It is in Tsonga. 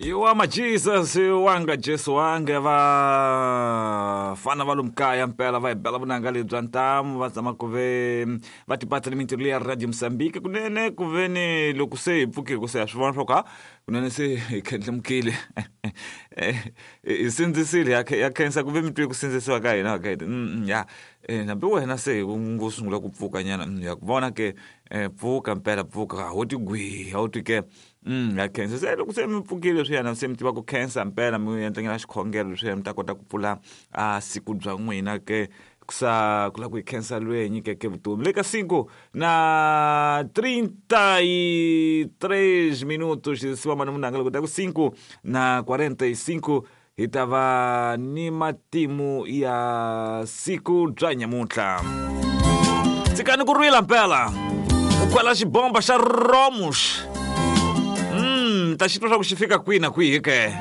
Iwa maJesus wanga Jesu wange vafana va lomu kaya mpela va hi bela vunanga lebyi bya ntamu va zama ku ve va tipatsa ni mintirho leya Radio Mozambique kunene ku ve ni loko se hi pfukile ku se ha swi vona swa ku ha kunene se hi khendlemukile hi sindzisile ya khensa ku ve mi twe ku sindzisiwa ka hina ka ya hambi wena se u ngo sungula ku pfuka nyana ya ku vona ke pfuka mpela pfuka ho ti gwi a wu twi ke ya khensa se loko se mi pfukile leswiyana se mi tiva ku khensa mpela mi endlanyana xikhongelo leswiya mi ta kota ku pfula a siku bya n'wina ke kusa ku lava ku hi khensa loyi hi nyikeke vutomi le ka 5 na 33 minutos siva mani munanga loko ta ku 5 na 45 hi ta va ni matimu ya siku bya nyamuntlha tshikani ku rila mpela u kwela xibomba xa romus ta xi twa swa ku xi fika kwihi na kwihi ke.